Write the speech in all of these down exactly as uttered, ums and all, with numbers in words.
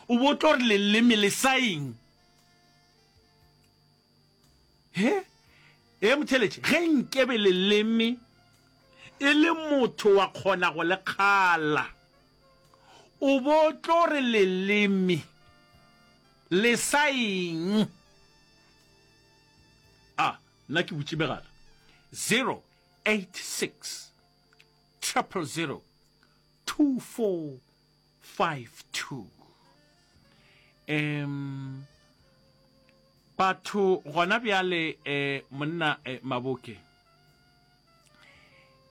O bo tlo re leleme le sa eng? He? Ee, motheeletši, ge nkebe leleme e le motho wa kgona go le kgala, o bo tlo re leleme le sa eng? A, nna ke butše megala. Zero eight six triple zero two four five two. Um, batho gona bjale eh, monna eh, Maboke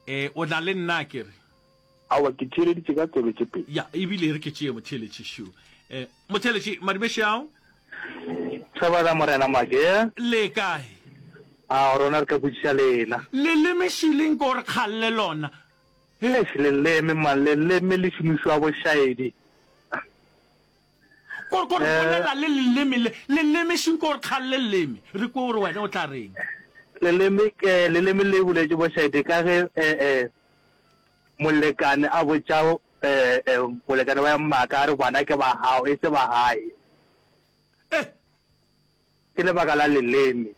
eh, o na le nna ke re Aowa, ke theeleditše ka tsebe tše pedi. Ya, ebile re ke tšee motheeletši šo. Eh, motheeletši, madumeši ao. Thobela Morena Make. Le kae? A rona re ka botšiša lena. Leleme šileng ko re kgalle lona. Eish leleme man, leleme le šomišwa bošaedi. Ko ko re bolela le leleme le, leleme šing ko re kgalle leleme. Re kwe gore wena o tla reng. Leleme ke, leleme le boletše bošaedi ka ge eh eh molekane a botša eh eh molekane wa maaka a re bana ke ba gago e se ba gae. Eh. Ke lebaka la leleme.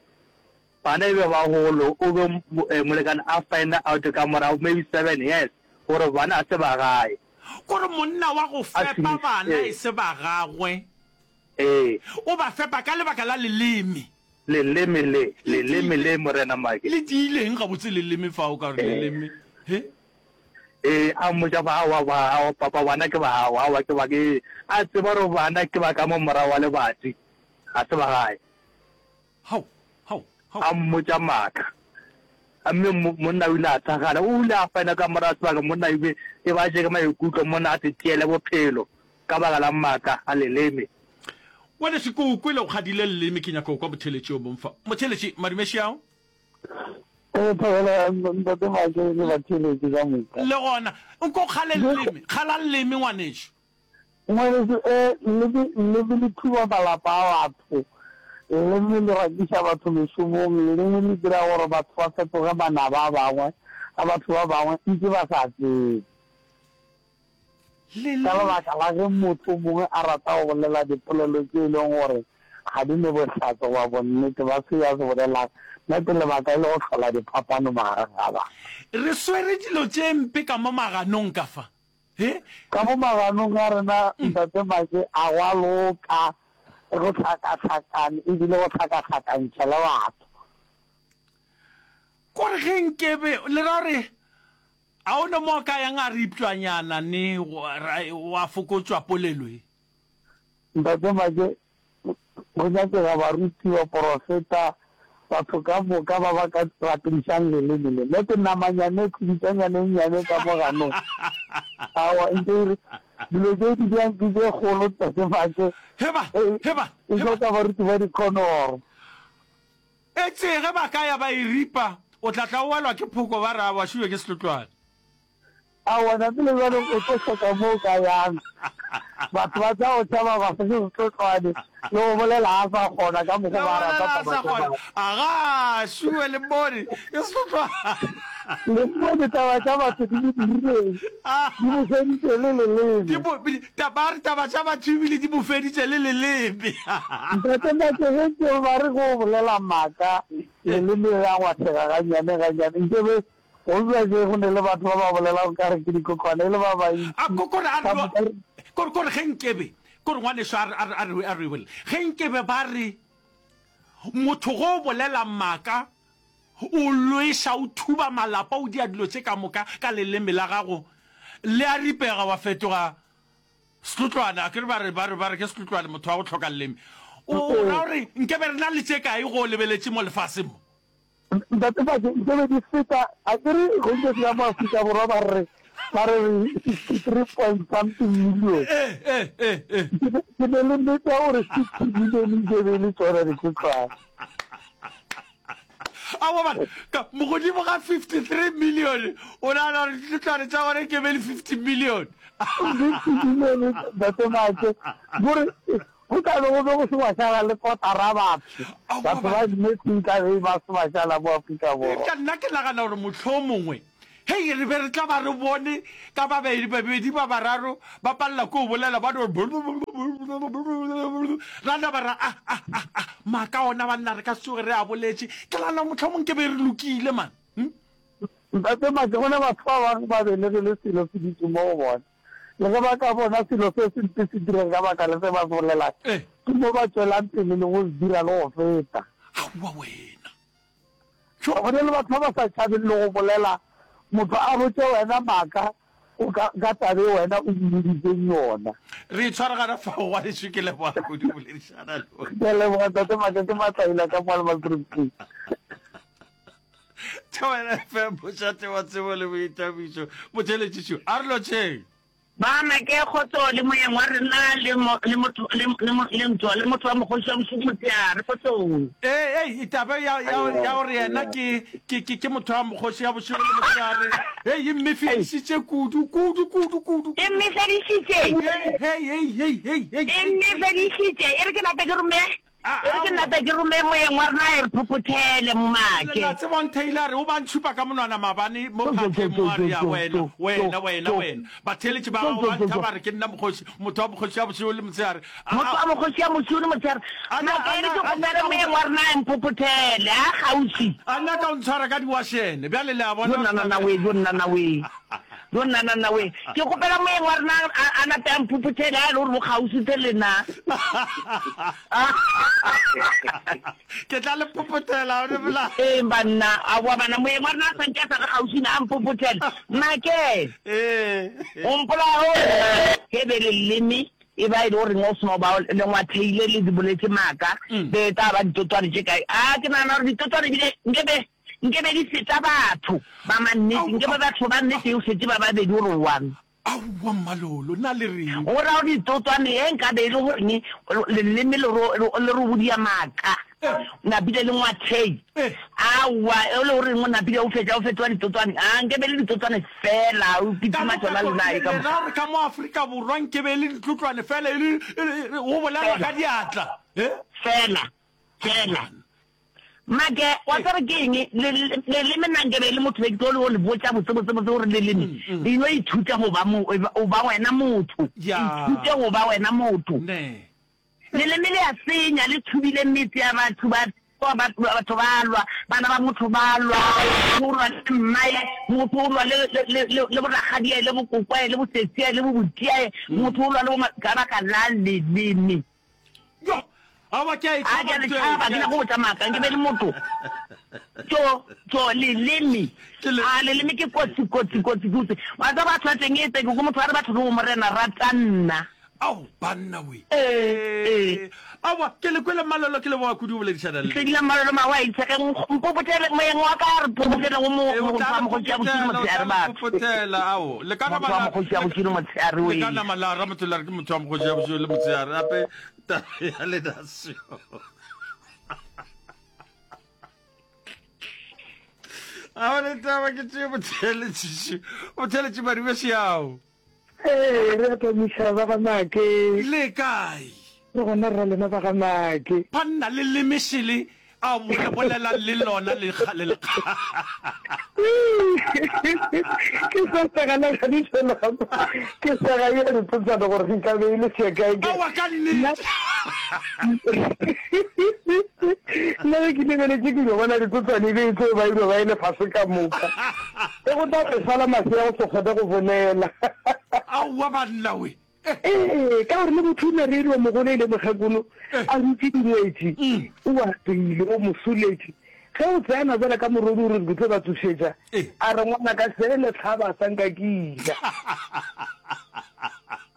Bana e be bagolo, o be molekane a find out ka morago maybe seven years gore bana ga se ba gae. Kore monna wa go fepa bana e se ba gagwe. Ee. O ba fepa ka lebaka la leleme. Leleme le, leleme le Morena Make. Le tiileng gabotse leleme fao ka gore leleme, he? Ee, a mmotša ba, aowa, ba, aowa, papa, bana ke ba gago, aowa, ke ba, ke, a tseba gore bana ke ba ka mo morago wa lebati, ga se ba gae. Hao, hao, hao. A mmotša maaka. Mme mo, monna o ile a thakgala. O ile a fana ka morago sebaka monna e be, e ba tšere maikutlo, monna a se tšeele bophelo ka baka la maaka a leleme. Ngwanešu, ke o kwele o kgadile leleme, ke nyaka go kwa motheeletši yo mongwe fa. Motheeletši, madumeši ao. Ee, thobela Ntate Make le batheeletši ka moka. Le gona, nko o kgale leleme, kgala leleme ngwanešu. Ngwanešu, ee, leleme, leleme le thuba malapa a batho, leleme le rakiša batho mešomong, leleme le dira gore batho ba fetoge manaba a bangwe, a batho ba bangwe ntše ba sa tsebe. Ka lebaka la ge motho mongwe a rata go bolela dipolelo tše e leng gore ga di ne bohlatse goba bonnete ba se a se bolelago, na ke lebaka e le go hlola diphapano magareng ga batho. Re swere dilo tše mpe ka mo maganong ka fa, he? Ka mo maganong a rena, Ntate Make, a gwa loka, go hlakahlakane ebile go hlakahlakantšha le batho. Kore ge nkebe, le ra gore A o ne mo a ka yang a ripšwanyana ne wa fokotšwa polelo ye? Ntate Make, go nyakega baruti, baporofeta, batho ka moka ba ba ka rapedišang leleme le. Le ke namanyane, khubitšanyane e nnyane ka mo ganong. Aowa, nke e re, dilo tše di bjang ke tše kgolo, Ntate Make. Heba, heba, E hloka baruti ba dikhonoro. Etse ge ba ka ya ba e ripa, o tla tla o welwa ke phoko ba re a bašuwe ke sehlotlwane. Aowa ntate le bjale o tlo hloka mo o ka yang. Batho ba tla go tšhaba ba se sehlotlwane le go bolela a sa kgona ka mokgo Le ba go rata bolela a taba sa tša kgona. batho. Agaa, šuwe le mmone ke sehlotlwane. Le mmone taba tša batho di mo dirileng, di mo feditše le leleme. Di mo, ta, ba re taba tša batho ebile di mo feditše le leleme. Ntate Make, ge ke ba re go bolela maaka, leleme le a ngwathega gannyane gannyane. Nke be go bja ke go ne le batho ba ba bolelago ka re ke dikokwane e le ba bantši. A ko, kore a re, Ka moka re. Kore, kore ge nkebe, kore ngwaneso a re, a re, a re, a re bolele. Ge nkebe ba re motho ge o bolela maaka, O lweša, o thuba malapa, o dia dilo tše ka moka ka leleme la gago, le a ripega wa fetoga setlotlwane. Akere ba re, ba re, ba re ke setlotlwane motho wa go hloka leleme. O, o ra gore nkebe re na le tše kae go o lebeletše mo lefaseng mo? Ntate Fake, nkebe di feta, akere go nke se ka mo Afrika Borwa ba re, ba re re sixty three point something million. Ee, ee, ee, ee. Ke ne, ke ne le nnete ya gore sixty million nkebe e le tšona ditlotlwane. Aowa bana, ka mogodimo ga fifty three million, o nagana gore ditlotlwane tša gona ke be le fifty million? Fifty million, Ntate Make, gore go tla be go be go se gwa šala le kotara batho. Aowa Batho ba bana. nnete nka be ba se ba šala mo Afrika Borwa. Eupša nna ke nagana gore mohlomongwe Hei, re be re tla ba re bone ka babedi, babedi ba bararo ba palela ke go bolela, ba no ra naba ra a, a, a, a, maaka ona banna re ka se tsoge re a boletše. Ke nagana mohlomong ke be re lokile man. Hm? Ntate Make, go ne batho ba bangwe ba belegile selo se dutše mo go bona. Le ge ba ka bona selo se sempe se direga ka baka la se ba se bolelang, ke mo ba tšwelang pele le go se dira le go feta. Aowa wena. Go na le batho ba ba sa tšhabeng le go bolela, motho a botše wena maaka o ka, ka taba e wena o mmoditseng yona. Re itshware gana fao ngwanešu, ke leboga kudu go boledišana le wena. Ke a leboga Tate Make, ke Matlaila ka mo Almansdrift. Thobela F M, mošate wa tsebo le boithabišo. Motheeletši šo, a re lotšheng. Ba make kgotso le moyeng wa rena le mo, le motho, le, le, mo, le ntwa, le motho wa mokgoši wa bošego motšeare. Kgotsong. Ee, ei, taba ya, ya, ya gore yena ke, ke, ke, ke motho wa mokgoši ya bošego le motšeare, hei, e mmefedišitše kudu, kudu, kudu, kudu, E kudu. mmefedišitše. Hei, hei, hei, hei, hei, hei, E hei. mmefedišitše. E re ke nape ke rome. E re ke nape ke rome moyeng wa rena a e re phophothele, Momake. La tseba o ntheile a re o ba ntšhupa ka monwana maabane mo phatleng mo a re ya wena, wena, wena, wena. Batheeletši ba gago ba ntha ba re ke nna mokgoši, motho wa mokgoši ya bošego le motshehare. A, Motho wa mokgoši ya bošego le motshehare. a na, Make a e re na, ke a kgopele nyaka go, moyeng wa rena a e mphophothele, a kgauswi. a nyaka go ntshwara ka diwašene. Bjale le a Jo bona nna gore na taba we, jo nna na we. Jo nna na na we. Ke kgopela moyeng wa rena a, a nape a mphophothele a e le gore bo kgauswi tse le nna. Ke tla le phophothela, o ne Ee banna, aowa bana, moyeng wa rena a sa nke a sa re kgauswi na a mphophothele. Make, Ee. o mpolaya o ge be leleme e ba e le goreng o seno ba le ngwatheile le di boletše maaka, be e tla ba ditotwane tše kae? A ke nagana gore ditotwane ebile nke be Nke be di feta batho ba mannete, nke be batho ba nnete e fete ba babedi gore one. Aowa Mmalolo, na le reng? Go ra gore ditotwane ye nka be e le goreng leleme le ro, le ro bodia maaka, napile le ngwathei. Aowa, e le goreng o napile o fetša o fetoga ditotwane? A nke be e le ditotwane fela, o Ka kitima moka tšona le nae ka le moka. ra gore ka mo Afrika Borwa nke be e le ditlotlwane fela, e le, e le, go bolelwa Fela. ka diatla? Eh? Fela. Fela. Make, wa tseba ke eng? Le, le, leleme nna nke be e le motho be ke tlo le go le botša botse, botse, botse gore leleme le no ithuta go ba mo, o ba wena motho. Ya. Ithute go ba wena motho. Ne. Leleme le a senya, le thubile metse ya batho, ba, ba, batho ba lwa, bana ba motho ba lwa, motho o lwa le mmae, motho o lwa le, le, le, le, le borakgadiae, le bokokwae, le bosesiae, le bobutiae, motho o lwa le boma, ka baka la leleme. Yo, aowa ke a e A ke tšhaba a le ntho e, tšhaba, ke ke a nyaka go botša maaka, nke be le motho. Tšo, tšo, leleme. Ke le. A leleme ke kotsi, kotsi, kotsi, kotsi. Wa tseba batho ba teng e tse, ke kwa motho a re batho ke bo Morena, rata nna. Ao, banna we. Ee, ee. Aowa, ke le kwele Mmalolo, ke leboga kudu go boledišana le. Hlwekile Mmalolo mawaitse, ge mpopotele, moyeng wa ka a re popotele go mo, Ee, o motho tla wa le mokgoši ya bošilo popotela, o tla motshehare le batho. popotela, ao. Le ka Motho nama wa la, mokgoši ya le, bošilo motshehare le we. ka nama la ra motho la re ke motho wa mokgoši ya bošilo le motshehare, gape taba ya lena seo. Ao le taba ke tšee motheeletši, motheeletši Madibešeao. Ee, re a tamiša ba ga Make. Le kae? Re gona rra lena ba ga Make. Banna le leme šele a bo le bolelang le lona le kgale le kgale. Ke sa sega le gadiša lapa. Ke sega ye ntotšana gore nka be e le sekae ke. Aowa ka nnete. Nna ge ke lebeletše ke yo bona ditsotswane e be e tlo ba e no ba e le fase ka moka. Ge go tla re sala masea go se kgone go bolela. Aowa banna we. Ee, ka gore le motho o ne re yo mogolo e le mokgekolo a dutše dingwetši, o apeile, o mo soletše. Ge o tsena bjale ka morodi o re ke tlo ba tsošetša, a re ngwanaka se le hlaba sa nka ke ja.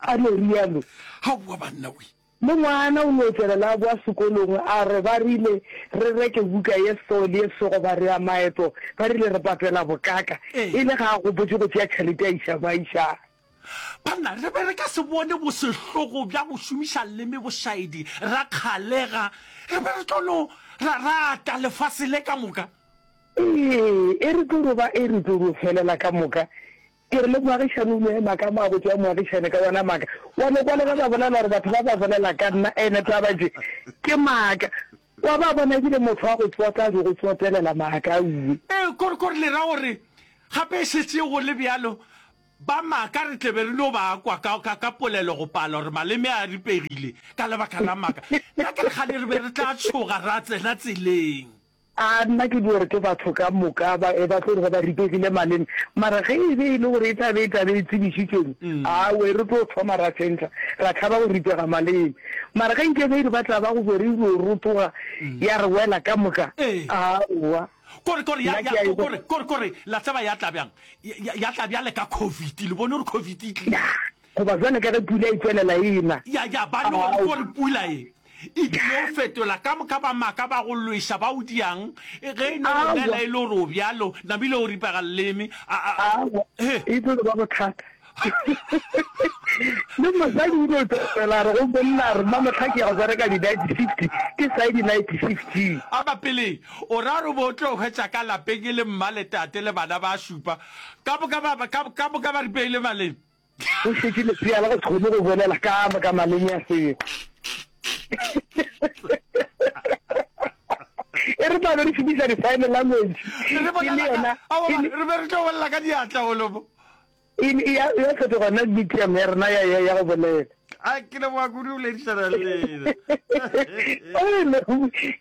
A no rialo. Aowa banna we. Le ngwana o no tšwelela a boa sekolong a re ba rile re reke buka ye so le ye so goba re ya maeto, ba rile re patela bokaka, e le ga a gopotše go tšea tšhelete a iša mo a išago. Banna, re be re ka se bone bosehlogo bja go šomiša leme bošaedi ra kgalega, re be re tlo no ra rata lefase le ka moka. Ee, e re tlo no ba e re tlo no felela ka moka. Ke re le moagišane o no ema ka mo a botša moagišane ka wona maaka. Wa no kwa le ge ba bolela gore batho ba ba bolela ka nna ene taba tše ke maaka. Wa ba bona ebile motho wa go tsota a di go tsotelela maaka auwe. Ee, kore, kore le ra gore Gape e šetše go le bjalo, ba maaka re tle be re no ba kwa ka, ka, ka polelo go pala gore maleme a ripegile ka lebaka la maaka. Nna ke re kgane re be re tla tšhoga ra tsena tseleng. A nna ke di gore ke batho ka moka ba, ba tlo re ge ba ripegile maleme. Mara ge e be e le gore e tla be e tla be e tsebišitšweng, awe, re tlo thoma ra tšhentšha, ra tšhaba go ripega maleme. Mara ge nke be e re ba tla ba go be re dio rotoga ya re wela ka moka, aowa. Kore, kore, ya, ya, kore, kore, kore, la tseba ya tla bjang? Ya, ya tla bjale ka COVID, le bone gore COVID e tlile. Goba bjale ka ge pula e tšwelela e na. Ya, ya, ba no gore pula e e tlilo fetola ka moka ba maaka ba go lweša ba o diang, ge e no go nela e le gore o bjalo, namile o ripega leleme, a, a, Aowa, e tlo ba bothata. Le mosadi o no tšwela a re go monna a re mmamohla ke ya go bereka di-night shift, ke sa ye di-night shift-ing. A ba pele, o ra gore o be o tlo hwetša ka lapeng e le mma le tate le bana ba šupa, ka moka ba, ka, ka moka ba ripegile maleme? Go šetše lesea la go se kgone go bolela ka moka maleme a sego. E re tla be re šomiša di-sign language. Re E le bolela ka, yona, aowa, e le, re be re tlo bolela ka diatla golomo. E ne ya ya fetoga nna medium ya rena ya ya ya go bolela. A ke leboga kudu go boledišana le lena. Ene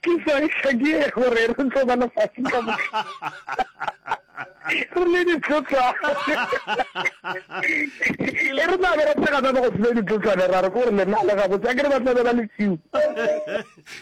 ke sa ke gore re tlo ba lefase ka moka. Re le ditlotlwane. E re tla be re tshega ba go se ditlotlwane ra re gore lena le gabotse a ke re ba tla be ba le few.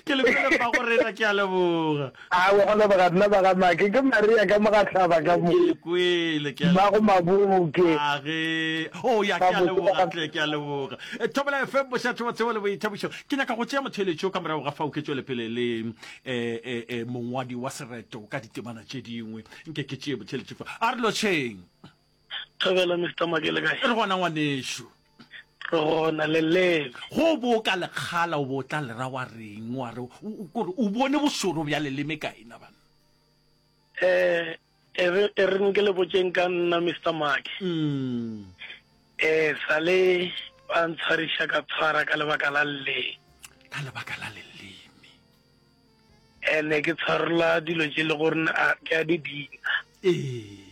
Ke le kwele mmago rena, ke a leboga. Aowa, go leboga nna ba ga Make. Ke Maria ka Mogahlaba ka mo. Ke le kwele, ke a Mmago leboga. Maboke. A ge. Oh, ya, ke a Gabotse ba leboga ga. tle, ke a leboga. Eh, Thobela F M, bošatho wa tsebo le boithabišo. Ke nyaka go tšea motheeletšo ka morago ga fao ke tšwele pele le eh, eh, eh, mongwadi wa sereto ka ditemana tše dingwe. Nke ke tšee motheeletšo fa. A re lotšheng. Thobela Mister Make le kae? Re gona ngwanešu. Re gona le leme. Go bo ka lekgala o bo tla le ra wa reng wa re kore o bone bošoro bja leleme kae na banna? Eh e re e re nke le botšeng ka nna Mister Make. Mm. Eh sale ba ntshwariša ka tshwara ka lebaka la leleme. Ka lebaka la leleme. Ene ke tshwarola dilo tše le gore a ke a di dira. Ee.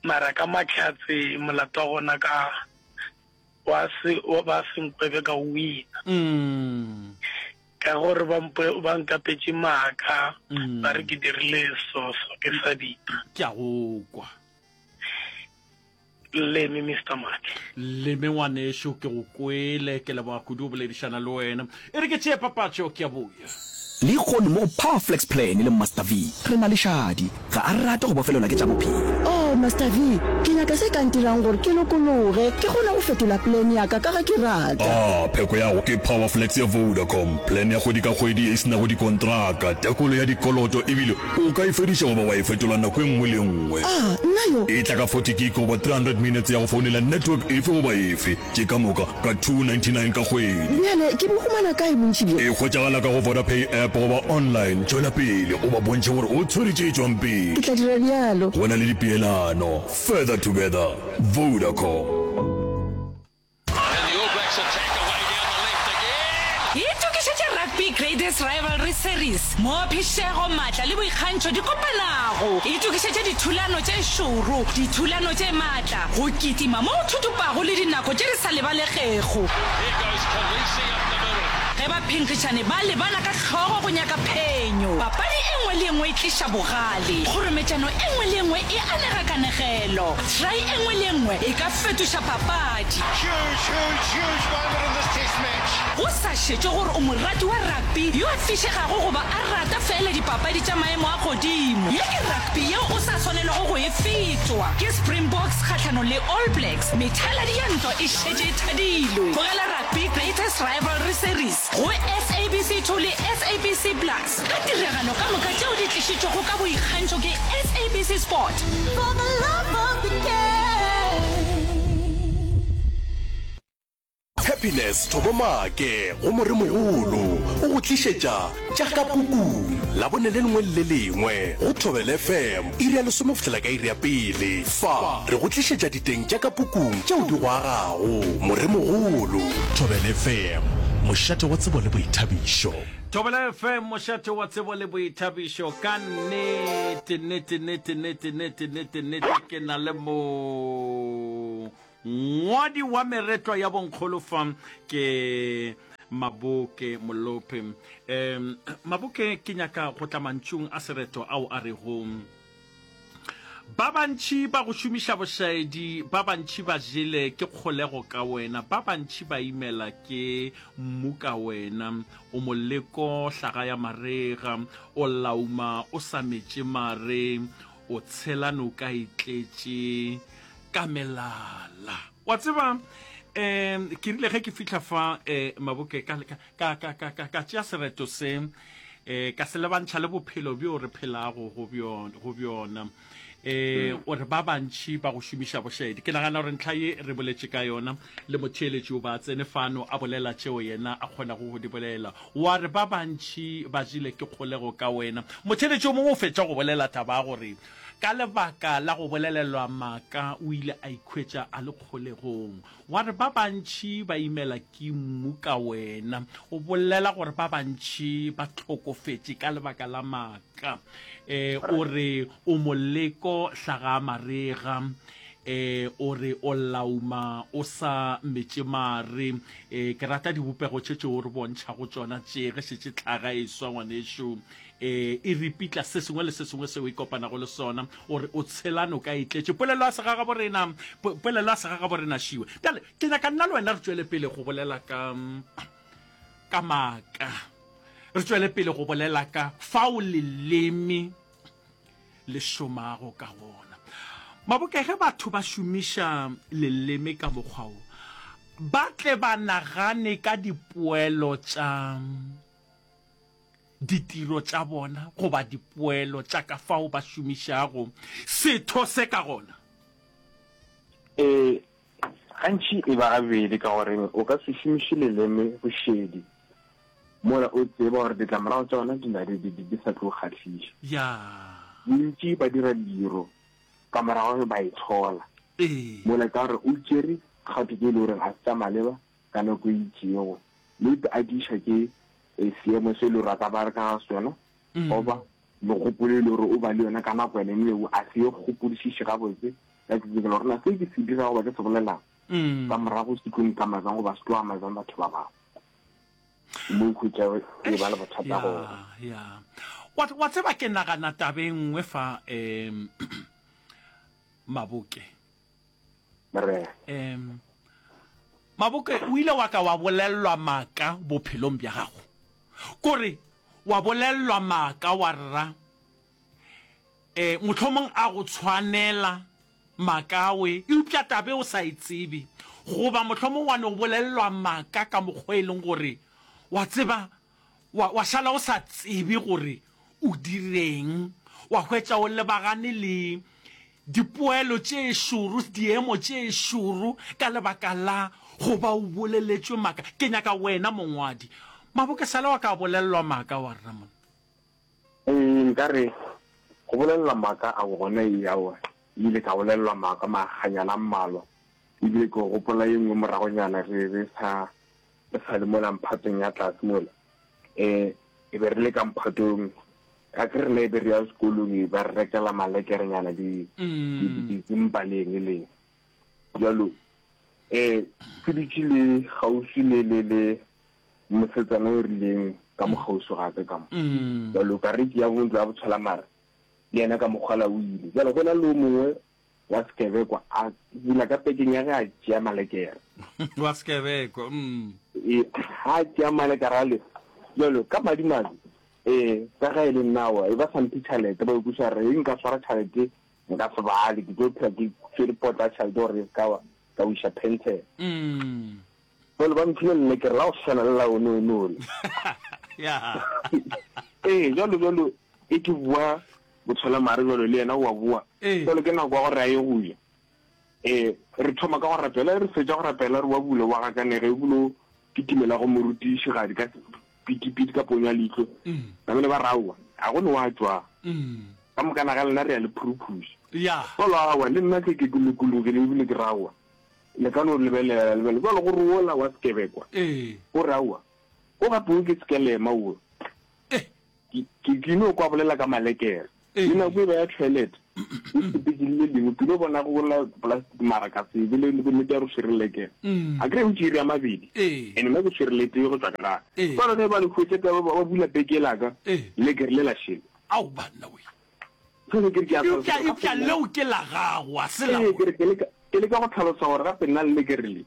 Mara ka mahlatse molato wa gona ka wa se wa ba se nkwebe ka o wina. Mm. Ka gore ba mpo ba nkapetše maaka Mm. ba re ke dirile so so ke sa dira. Ke a go kwa. Leme Mister Make. Leme ngwanešu ke go kwele, ke leboga kudu go boledišana le wena. E re ke tšee papatšo ke a boya. Lehono mo go Power Flex Plan le Master V re na le Shadi. Ga a rate go bofelelwa ke tša bophelo. Oh, Master V, ke nyaka se ka ntirang gore ke lokologe, ke kgone go fetola plan ya ka ka ge ke rata. Ah, pheko ya go ke Power Flex ya Vodacom, plan ya kgwedi ka kgwedi ye e se nago dikontraka, tekolo ya dikoloto ebile o ka e fediša goba wa e fetola nako e nngwe le e nngwe. Ah, nna yo. E tla ka forty gig goba three hundred minutes ya go founela network efe goba efe, tše ka moka ka two ninety nine ka kgwedi. Bjale ke bo humana kae bontši bjo? E hwetšagala ka go Vodapay app goba online. Tšwela pele o ba bontšhe gore o tshwere tše tšwang pele. Ke tla dira bjalo. Go na le dipeelano. Further together. Vodacom. Itokišetše Rugby Greatest Rivalry Series, moo phišego, maatla le boikgantšho di kopanago. Itokišetše dithulano tše šoro, dithulano tše maatla, go kitima mo go thuthupago le dinako tše di sa lebalegego. Ge baphenkgišani ba lebana ka hlogo go nyaka phenyo, papadi e nngwe le e nngwe e tliša bogale, kgorometšano e nngwe le e nngwe e anega kanegelo, try e nngwe le e nngwe e ka fetoša papadi. Go sa šetšwe gore o morati wa rugby yo a fišegago goba a rata feela dipapadi tša maemo a godimo, ye ke rugby yeo o sa swanelwago go e fetwa. Ke Springboks kgahlanong le All Blacks, methaladi ya ntwa e šetše e thadilwe. Bogela Rugby Greatest Rivalry Series go S A B C two le S A B C Plus ka tiragalo ka moka tšeo di tlišitšwego ka boikgantšho ke S A B C Sport. For the love of the game. Happy Happiness Thobo Maake go Moremogolo o go tlišetša tša ka pukung Labone le lengwe le le lengwe go Thobela F M iri ya lesome go fihlela ka iri ya pele. Fa re go tlišetša diteng tša ka pukung tšeo di go agago. Moremogolo. Thobela F M, mošate wa tsebo le boithabišo. Thobela F M, mošate wa tsebo le boithabišo. Ka nnete, nnete, nnete, nnete, nnete, nnete, nnete, ke na le mo ngwadi wa meretlwa ya bonkgolo fa ke Maboke Molope. Um Maboke, ke nyaka go tla mantšung a sereto ao a rego, Ba bantši ba go šomiša bošaedi, ba bantši ba jele ke kgolego ka wena, ba bantši ba imela ke mmu ka wena. O moleko hlaga ya marega, o lauma o sa metše mare, o tshela noka e tletše ka melala. Wa tseba, um ke rile ge ke fihla fa, um Maboke, ka, ka, ka, ka, ka, ka tšea sereto se, um ka se lebantšha le bophelo bjo re phelago go bjona, go bjona. Um o re ba bantši ba go šomiša bošaedi. Ke nagana gore ntlha ye re boletše ka yona le motheeletši o ba tsene fano a bolela tšeo yena a kgonago go di bolela. Wa re ba bantši ba jele ke kgolego ka wena. Motheeletši o mongwe o fetša go bolela taba ya gore ka lebaka la go bolelelwa maaka o ile a ikhwetša a le kgolegong. Wa re ba bantši ba imela ke mmu ka wena. O bolela gore ba bantši ba hlokofetše ka lebaka la maaka. E, o re o moleko hlaga marega. E, o re o lauma o sa metše mare. E, ke rata dibopego tše tšeo re bontšhago tšona tše ge šetše hlaga e swa ngwanešu. E, e ripitla se sengwe le se sengwe seo e kopanago le sona. O re o tshela noka e tletše. Polelo ya segagaborena, polelo ya segagaborena šiwe. Bjale, ke nyaka nna le wena re tšwele pele go bolela ka, ka maaka. Re tšwele pele go bolela ka fao leleme le šomago ka gona. Maboke, ge batho ba šomiša leleme ka mokgwa wo, ba tle ba nagane ka dipoelo tša ditiro tša bona goba dipoelo tša ka fao ba šomišago setho se ka gona. Ee, gantši e ba gabedi ka gore o ka se šomiše leleme bošedi mola o tseba gore ditlamorago tša gona di na di, di, di sa tlo kgahliša. Ya. Bontši ba dira diro ka morago ge ba itshola. Ee. Mola ka gore o tšere kgato tše e le goreng ga se tša maleba ka nako e itšego, maybe a diša ke seemo se e le gore a ka ba re ka ga sona, goba megopolo e le gore o ba le yona ka nako yone eo, a se e gopodišiše gabotse ka tsetsekelo gore na se ke se dirago goba ke se bolelang ka morago se tlo nkama bjang goba se tlo ama bjang batho ba bangwe. Mo o hwetša e ba le bothata gona. Ya, wa, wa tseba ke nagana taba e nngwe fa, um Maboke. Morena. Um Maboke, o ile wa ka wa bolellwa maaka bophelong bja gago? Kore wa bolellwa maaka wa rra, eh, mohlomong a go tshwanela maaka we, eupša tabe o sa e tsebe. Goba mohlomong wa no bolellwa maaka ka mokgwa e leng gore wa tseba wa, wa šala o sa tsebe gore o direng, wa hwetša o lebagane le dipoelo tše šoro, diemo tše šoro ka lebaka la go ba o boleletšwe maaka. Ke nyaka wena mongwadi. Maboke sala wa ka a bolelelwa maaka wa rena monna. Ee, nka re go bolelelwa maaka a gona ee, aowa, ile ka bolelelwa maaka makganyana a mmalwa, ebile ke gopola ye nngwe moragonyana re re sa re sa le mola mphatong ya tlase mola, um e be re le ka mphatong, a ke rena e be re ya sekolong e ba re rekela malekerenyana di ditsimpa le eng le eng. Bjalo um ke dutše le kgauswi le le le mosetsana o rileng ka mo kgauswi ga ka ka mo. Bjalo ka re ke ya bo ntlo ya botshwela mare le yena ka mokgwala o ile. Bjalo go na le o mongwe wa sekebekwa a bula ka pekeng ya ge a tšea malekere. Wa sekebekwa, mm. E, ha a tšea malekere ale, bjalo ka madimabe, e, ka ge e le nna wa, e ba sa mphe tšhelete, ba ikweša re nka swara tšhelete nka se bale, ke tlo phela ke tšwere potla ya tšhelete gore e se ka wa ka wiša pension. Mm. Bjalo ba mphile lelekere la go swana le la one one ole. Ya. Ee, bjalo bjalo e ke bua botshwelamare bjalo le yena o a bua. Ee. Bjalo ke nako ya gore a ye go ja. Eh, re thoma ka go rapela, re fetša go rapela re wa bula wa gakanega ebile o kitimela go morutišigadi ka pitipiti ka ponyo ya leihlo. Namele ba re aowa, ga go ne wa tšwa. Ka mokana ga lena re ya le phuruphuša. Jwalo aowa, le nna ke ke lokologile ebile ke re aowa, le ka no lebelela la lebelela. Jwalo gore wola wa sekebekwa o re aowa, o gape o ke sekelema o. Ke, ke, ke no kwa bolela ka malekere. Le nako e ba ya toilet, e sepetše le le lengwe, ke no bona go la plastic mara ka se be le bonnete ya gore swere lekere. A kry o tšere ya mabedi, and nna ke swere le tee go tšwa ka gare. Jwale ge ba le hwetša ka ba bula peke la ka, lekere le la šele. Ao banna we. Jwale ke re ke a Eupša, hlalosa gore eupša gape nna. leo ke la gago, a se la Ee, bona. ke re ke leka, ke leka go hlalosa gore gape nna le lekere le,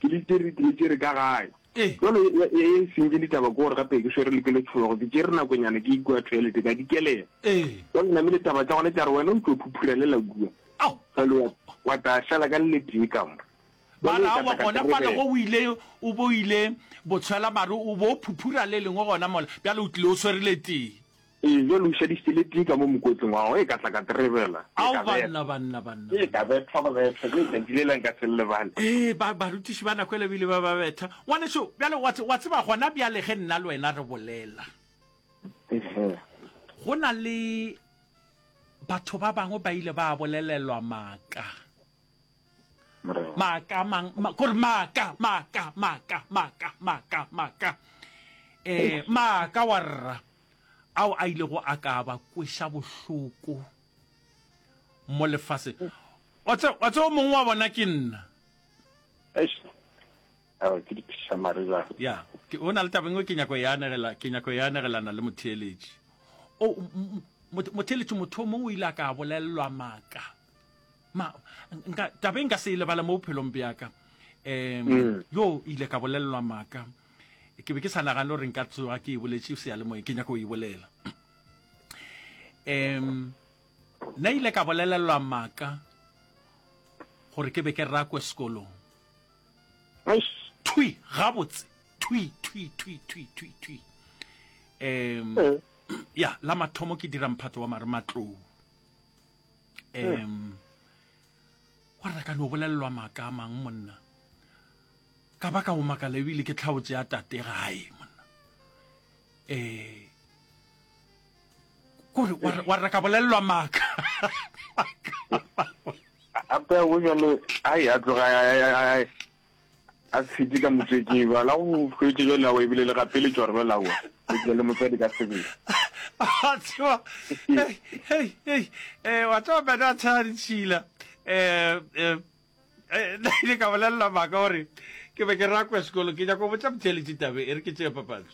ke le tšere, ke le tšere ka gae. Jwale ye, ye, ye e sentše ditaba ke gore gape ke swere le ke letšhologo, ke tšere nakonyana ke ikwa toilet, ka dikelela. Jwale namile taba tša gona tša re wena o tlo phuphurelela kua. Jwale wa, wa tla šala ka le letee ka mo. Ba Jwale re ka aowa tla ka gona fale terebela. go o ile, o bo ile botshwela mare o bo phuphura le lengwe gona mola, bjale o tlile o swere le tee. Ee, bjale o šadišitše le tee ka mo mokotleng wa gago, e ka tla ka terebela, e Ao ka betha. banna, banna, banna, E banna. ka bethwa go bethwa, ke letšatši lela nka se le lebale. Ee, ba, barutiši ba nako ele bile ba ba betha. Ngwanešu, bjale wa, wa tseba gona bjale ge nna le wena re bolela, Ehe. go na le batho ba bangwe ba ile ba bolelelwa maaka. Morena. Maaka mang, ma, kore maaka, maaka, maaka, maaka, maaka, maaka. Eh, maaka wa rra. ao a ilego a ka ba kweša bohloko mo lefaseng. Wa tseba, wa tseba o mongwe wa bona ke nna. Eish. Aowa, ke diphišamare bjang. Ya, ke, o na le taba e nngwe ke nyako e anegela, ke nyako e anegelana le motheeletši. O, m- m- motheeletši, motho o mongwe o ile a ka bolelelwa maaka. Ma, nka, taba e nka se e lebale mo bophelong bja ka. Um, Mm. yo ile ka bolelelwa maaka. Ke be ke sa nagane gore nka tsoga ke e boletše seyalemoyeng, ke nyaka go e bolela. Um, nna ile ka bolelelwa maaka gore ke be ke rakwe sekolong. Thwi, gabotse, thwi, thwi, thwi, thwi, thwi, thwi. Um, ya, la mathomo ke dira mphato wa marematlou. Um, wa re ka no bolelelwa maaka a mang monna. Ka ba ka go makala ebile ke tlhaotše ya tate gae monna. Eh kore wa re- wa re ka bolelelwa maaka. Gape go bjalo, ai a tloga a- a- a- a tshetše ka motswetšing bjalo, a go hwetše bjalo aowa ebile le gapeletšwa gore bjalo aowa o tle le motswadi ka sebele. Wa tseba, hei, hei, hei, eh, wa tseba bana a tshela ditšhila. Eh, eh, Eh, nna ile ka bolelela maaka gore ke be ke rakwe sekolo ke nyaka go botša motheeletši tabe e re ke tšee papatso.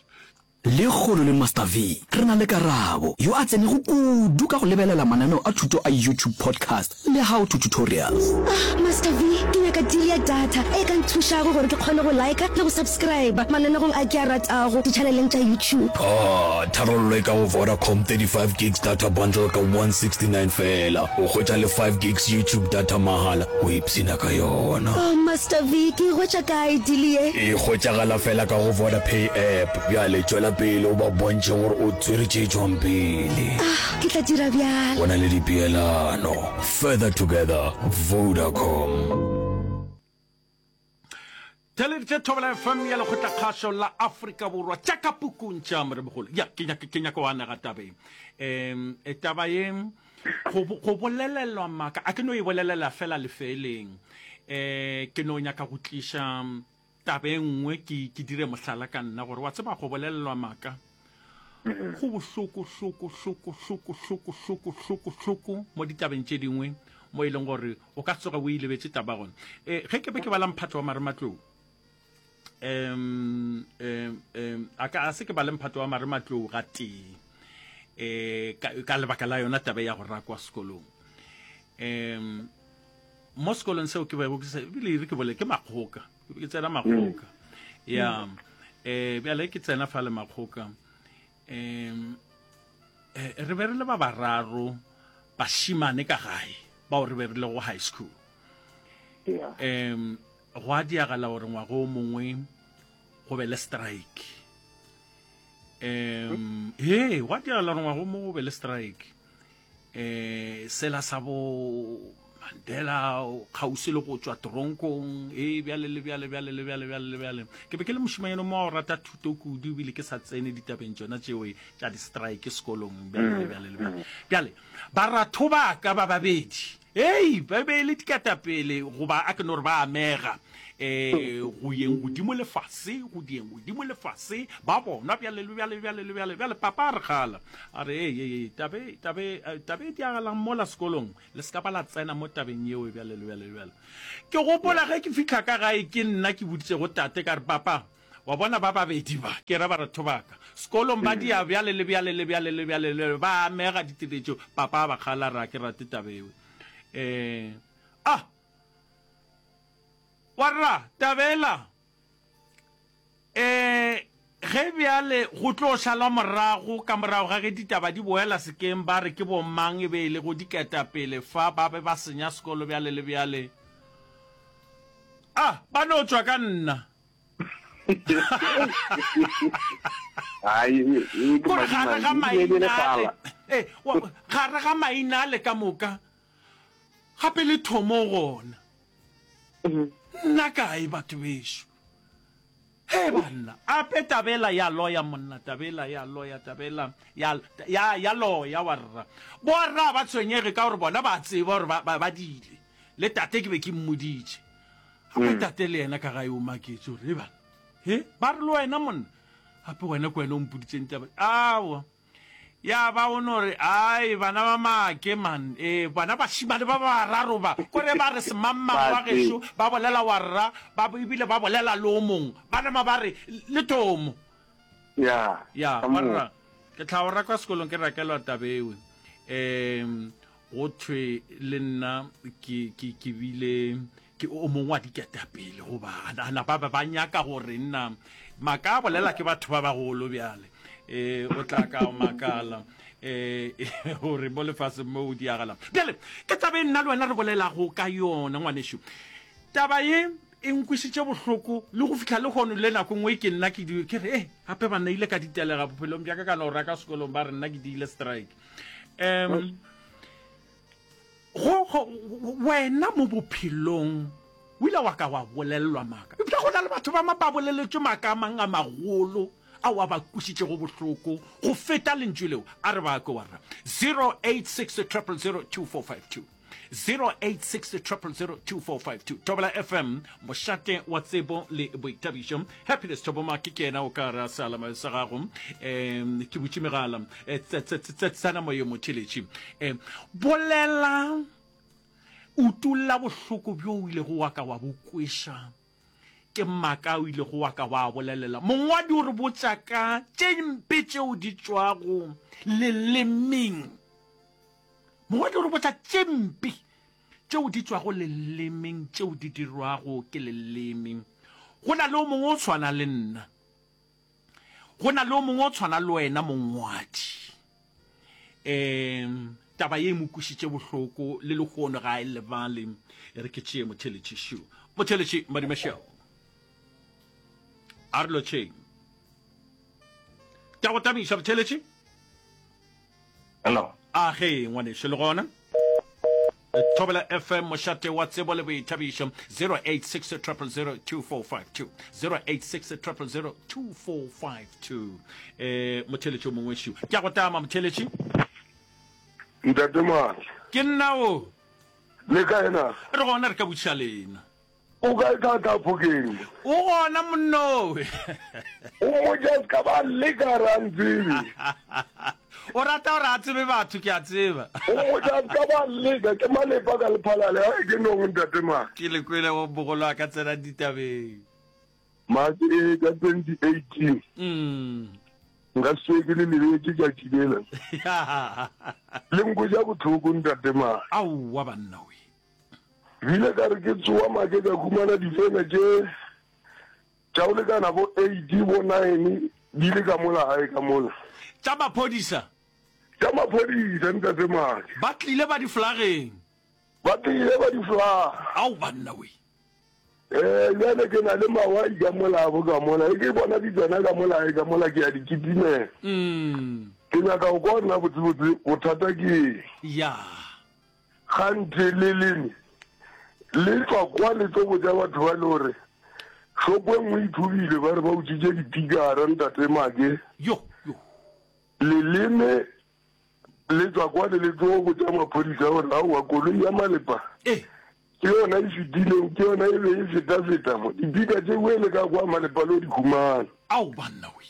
Lekgono le Master V re na le Karabo, yo a tsenego kudu ka go lebelela mananeo a thuto a YouTube Podcast le How to Tutorials. Ah, Master V, ke nyaka deal ya data e ka nthušago gore ke kgone go liker le go subscriber mananegong a ke a ratago ditšhaneleng tša YouTube. Ah, tharollo e ka go Vodacom thirty five gigs data bundle ka one sixty nine feela. O hwetša le five gigs YouTube data mahala o ipshina ka yona. Oh, Master V, ke e hwetša kae deal ye? E hwetšagala feela ka go Vodapay app. Bjale tšwela pele o ba bontšhe gore o tswere tše tšwang pele. Ah, ke tla dira bjalo. Go na le dipeelano. Further together, Vodacom. Theleditše Thobela F M ya Lekgotlakgašo la Afrika Borwa tša ka pukung tša Moremogolo. Ya, ke nyaka ke nyaka go anega taba ye. Em, e taba ye go go bolelelwa maaka, a ke no e bolelela fela lefeeleng. Eh, ke no nyaka go tliša taba e nngwe ke ke dire mohlala ka nna gore wa tseba go bolelelwa maaka go bohloko hloko hloko hloko hloko hloko hloko hloko mo ditabeng tše dingwe mo e leng gore o ka tsoga o e lebetše taba gona. Um ge ke be ke bala mphato wa marematlou, um um um a ka a se ke bale mphato wa marematlou gatee um ka, ka lebaka la yona taba ya go rakwa sekolong. Um mo sekolong seo ke bego ke se ebile e re ke bole ke makgoka, ke be ke tsena makgoka ya um bjale ke tsena fa le makgoka um re be re le ba bararo bašimane ka gae bao re be re le go high school. Um go a diagala gore ngwaga o mongwe go be le strike. Um he go a diagala gore ngwaga o mongwe go be le strike um sela sa bo Mandela o kgauswi le go tšwa toronkong, e bjale le bjale, bjale le bjale, bjale le bjale. Ke be ke le mošemanyana mo wa go rata thuto kudu, ebile ke sa tsene ditabeng tšona tšeo tša di-strike sekolong, bjale le bjale le bjale. Bjale, baratho ba ka ba babedi, hei, ba be e le diketapele, goba a ke no re ba amega, um go yeng godimo le fase, go dieng godimo le fase, ba bonwa bjale le bjale, bjale le bjale. Bjale papa a re kgala, a re, Hei, hei, hei, tabe, tabe, tabe e diagalang mola sekolong, le se ka ba la tsena mo tabeng yeo bjale le bjale le bjale. Ke gopola ge ke fihla ka gae, ke nna ke boditšego tate ka re, Papa, wa bona ba babedi ba, ke ra baratho ba ka, sekolong ba dia bjale le bjale le bjale le bjale le bjale, ba amega ditiretšo. Papa a ba kgala, a re, A ke rate taba yeo. Um, ah! Warra, tabela, e, ge bjale go tlo šalwa morago ka morago ga ge ditaba di boela sekeng ba re ke bomang e be e lego diketapele fa ba be ba senya sekolo bjale le bjale. A, ba no tšwa ka nna. Kore gare ga maina ale, e, gare ga maina ale ka moka, gape le thomo gona. Nna kae batho bešo? He banna, ape tabela ya loya monna, tabela ya loya, tabela ya, ya, ya loya warra. Borra ba tshwenyege ka gore bona ba tseba gore ba, ba, ba dile. Le tate ke be ke mmoditše. Gape tate le yena ka gae o maketše gore, he banna, he, ba re le wena monna, gape wena ke wena o mpoditšeng taba. Aowa. Ya ba o no re, Ai, bana ba make, man. Ee, bona bašemane ba bararo ba, kore ba re semangmang wa gešo, ba bolela wa rra, ba, ebile ba bolela le o mongwe. Ba nama ba re, Le Tomo. Ya, Ya, ka wa moo. rra. Ke tla go raka sekolong ke rakelwa taba ewe. Um, go thwe le nna ke, ke, ke bile Ke o mongwe wa diketapele goba ana ba ba ba nyaka gore nna maka a bolela ke batho ba bagolo bjale e o tla ka o makala e gore mo lefaseng mo o diagalang bjale ke taba e nna le wena re bolelago ka yona ngwanešu taba ye e nkwisitše bohloko le go fihla le kgono le nako nngwe ke nna ke ke re e gape banna ile ka ditelega bophelong bja ka ka no raka sekolong ba re nna ke diile strike um Go, go, wena mo bophelong o ile wa ka wa bolelelwa maaka. Eupša go na le batho ba ba boleletšwe maaka a mang a magolo ao a ba kwešitšego bohloko go feta lentšu leo. A re ba kwe warra. Zero eight six triple zero two four five two. Zero eight six triple zero two four five two. Thobela F M, mošate wa tsebo le boithabišo. Happiness Thobomake ke yena o ka ra sealama sa gago. Um, ke butše megala. Eh, tsena moyeng motheletši. Um, bolela, utolla bohloko bjo o ilego wa ka wa bo kweša ke maaka o ilego wa ka wa bolelela. Mongwadi o re botša ka tše mpe tšeo di tšwago lelemeng. Mongwadi o re botša tše mpe tšeo di tšwago lelemeng, tšeo di dirwago ke leleme. Go na le o mongwe o tshwana le nna. Go na le o mongwe o tshwana le wena, mongwadi. Um, taba ye e mo kwešitše bohloko, le lehono ga a e lebale. E re ke tšee motheletši šo. Motheletši, Madumešego. A re lotšheng. Ke a go tamiša, motheletši. Hello. A ge, ngwanešu, le gona? Thobela F M, mošate wa tsebo le boithabišo, zero eight six triple zero two four five two, zero eight six triple zero two four five two. Eh, motheletši o mongwe šiu. Ke a go tama, motheletši. Ntate Maatla. Ke nna o. Le kae na? Re gona, re ka botšiša lena. O kae tata Phokeng? O gona monnowe. O mmotše a se ka ba leka re a ntsebe. O rata gore a tsebe batho ke a tseba. O mmotše a se ka ba leka ke malepa ka lephalale a ke nong ntate Maake. Ke le kwele go mogolo a ka tsena ditabeng. Maake ee ka twenty eighteen. Nka se tsoge ke le lebetše tšatši lela. Le nkweša bohloko ntate Maake. Aowa banna we. Bile ka re ke tsoa make ka humana difene tše tša go lekana bo eight bo nine di le ka mola gae ka mola. Tša maphodisa? Tša maphodisa ntate Make. Ba tlile ba di flageng? Ba tlile ba di flaga. Ao banna we. Ee, bjale ke na le mawai ka mola bo ka mola, e ke bona di tsena ka mola gae ka mola ke a di kitimela. Ke nyaka go kwa gore na botsebotse bothata ke eng. Ya. Kganthe leleme le tšwa kwa le tlo botša batho ba le gore šopo e nngwe e thubilwe, ba re ba utswitše dipikara, Ntate Make. Yo, yo. Leleme le tšwa kwa le le tlo botša maphodisa gore aowa koloi ya malepa Eh. ke yona e fetileng, ke yona e be e fetafeta mo. Dipika tše e le ka kwa malepa lo di humana. Ao banna we.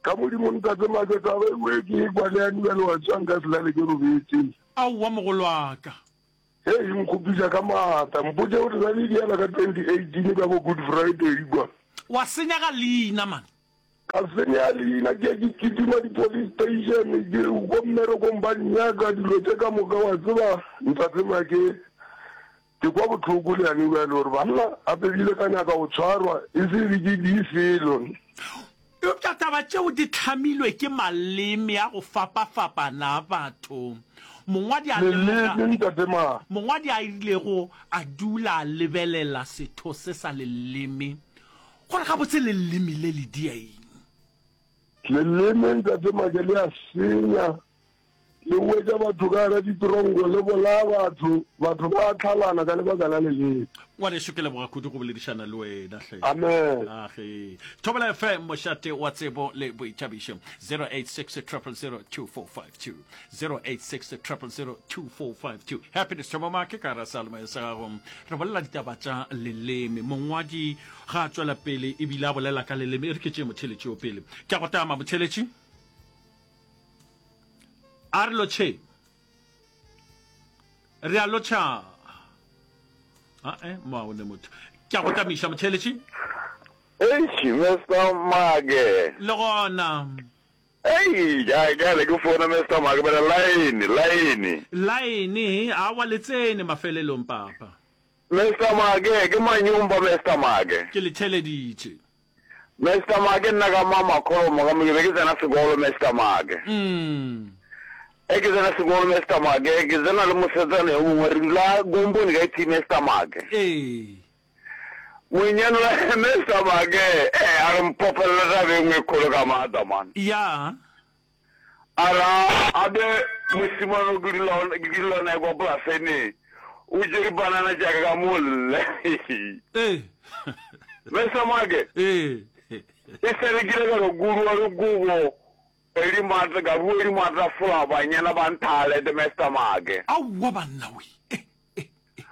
Ka Modimo Ntate Make taba e we ke e kwa le yane bjale wa tswa nka se lale ke robetše. Aowa mogolwaka. Hei e nkgopiša ka maatla. Mpotše gore bjale e diela ka twenty eighteen ka bo Good Friday kwa. Wa senyaga leina man. Ka senya leina ke ke kitima di police station ke ko mmerekong ba nnyaka dilo tše ka moka wa tseba Ntate Make ke kwa bohloko le yane bjale gore banna gape bile ka nyaka go tshwarwa e se be ke di selo. Eupša taba tšeo di hlamilwe ke maleme a go fapafapana a batho. Mongwadi a lemoga, Leleme, Ntate Ma. mongwadi a ilego a dula a lebelela setho se sa leleme, gore gabotse leleme le le dia eng. Leleme, Ntate Make, le a senya. Le wetša batho ka gara ditronko, le bolaya batho, batho ba a tlhalana ka lebaka la leleme. Ngwanešu, ke leboga kudu go boledišana le wena hle. Amen. Age. Thobela F M, mošate wa tsebo le boithabišo. zero eight six triple zero two four five two. zero eight six triple zero two four five two. Happiness Thomo Make ka gara seyalemoya sa gago. Re bolela ditaba tša leleme. Mongwadi ga a tšwela pele ebile a bolela ka leleme. E re ke tšee motheeletši yo pele. Ke a go tama motheeletši. A re lotšhe. Re a lotšha. Ae, mo a o ne motho. Ke a go tamiša motheeletši. Eish, Mister Make. Le gona. Ei, ja, jale ke founa Mister Make, bjale line, line. Line, awa le tsene mafelelong papa. Mister Make, ke manyumba Mister Make. Ke le theeleditše. Mister Make, nna ka mama Kholomo ka mo ke be ke tsena sekolo Mister Make. Mm. E ke tsena sekolo Mister Make, ke tsena le mosetsana yo mongwe re dula kompone ka e tee Mister Make. Ee. Monyane wa Mister Make, eh a re mpopelele taba e nngwe e kgolo ka maatla man. Ya. A re a be mosimane o ke dula ke dula naye kwa polaseng o tšere banana tša ka ka mo lle. Ee. Mister Make. Ee. E sa le ke ile ka re kudu re kubo e di matla ka bua di matla fola banyana ba nthalete Mister Make. Aowa banna we. Eh, eh, eh.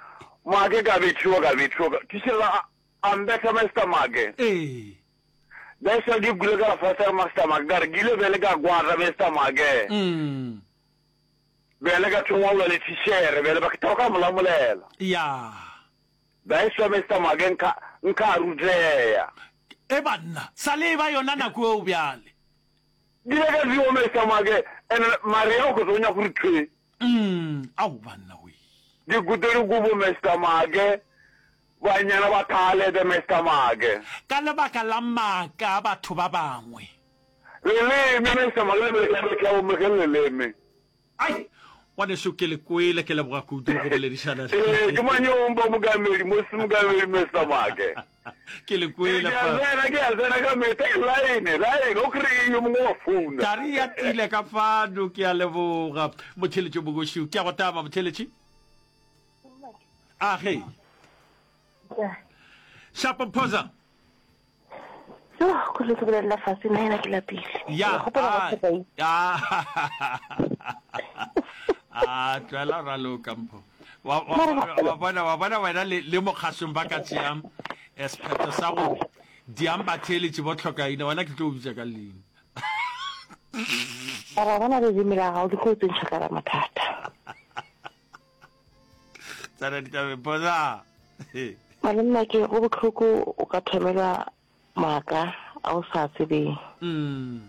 Make ka bethiwa ka bethiwa ka tšhela a mbetha Mister Make. Ee. That's why ke kule ka fasa Master Make ka re ke ile bjale ka kwata Mister Make. Mm. Bjale ka thoma go lwa le thichere bjale ba ke thoma ka molamolela. Ya. That's why Mister Make nka nka ruteya. E banna, sa le eba yona nako eo bjale. Ke ile ka tseba Mister Make and Maria o kgotsa o nyaka gore thwe. Mm, ao banna we. Ke kute dikobo Mister Make. Banyana ba thalete Mister Make. Ka lebaka la maaka a batho ba bangwe. Leleme, Mister Make, le be le tla bo ge leleme. Ai, ngwaneso ke le kwele, ke leboga kudu go boledišana le. Ee, ke manyomba Mokamedi, Moses Mokamedi, Mister Make. Ke le kwele Ke a fa. tsena, ke a tsena ka mehla, e line, line, o kry-e yo mongwe wa founa. Thari ya tile ka fano, ke a leboga. Motheeletši Mogoši, ke a go taba motheeletši. A ge. Shapo Phoza. Yo, ko le ke bolelela fase nna ena ke lapile. Ya. Ke gopola go tshepa Ya. A tlwela raloka mpho. Wa wa wa bona wa bona wena le le mokgasong ba ka tšea eh, sephetho sa go diang batheeletši bo tlhokaina wena ke tlo o bitša ka leina. Mara bona leleme la gago le tlo tsentšha ka la mathata. Tsena ditabeng Phoza. Malome ke go bohloko o ka thomelwa maaka a o sa tsebeng. Mm.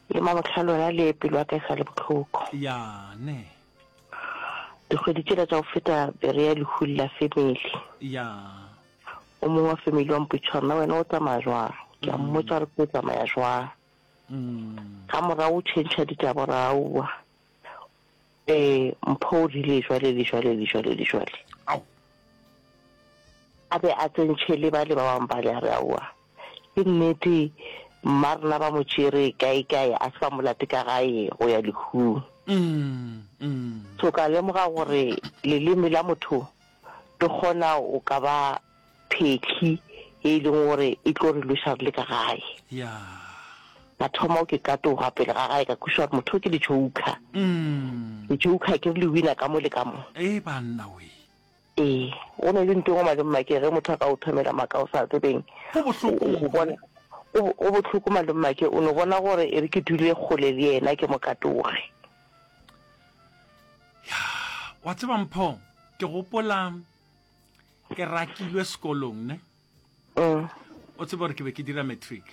Le mamohla lona le pelo ya ka e sa le bohloko. Ya ne. Dikgwedi tšela tša go feta be re ya lehung la family. Ya. O mongwe wa family wa mpotšiša gore na wena o tsamaya jwang. Ke a mmotša gore ke o tsamaya jwang. Mm. Ga morago o tšhentšha ditaba gore aowa. Ee, Mpho o rile jwale le jwale le jwale le jwale. Ao. A be a tsentšhe le bale ba bangwe bale, a re, Aowa, ke nnete, mma rena ba mo tšere kae kae, a se ba mo late ka gae go ya lehung. Mm, mm. So ka lemoga gore leleme la motho le kgona o ka ba phehli ye e leng gore e tlo re lweša re le ka gae. Ya. Ka thoma ke katoga pele ga gae ka kwešiša gore motho o ke le-joker. Mm. Le-joker ke re le wina ka mo le ka mo. Ee banna wee. Ee, go ne le nto engwe malome Make ge motho a ka o thomela maaka o sa tsebeng. Go bohloko. O bona, go, go bohloko malome Make, o no bona gore e re ke dule kgole le yena ke mo katoge. Ya, wa tseba Mpho, ke gopola ke rakilwe sekolong ne. Mm. O tseba gore ke be ke dira matric.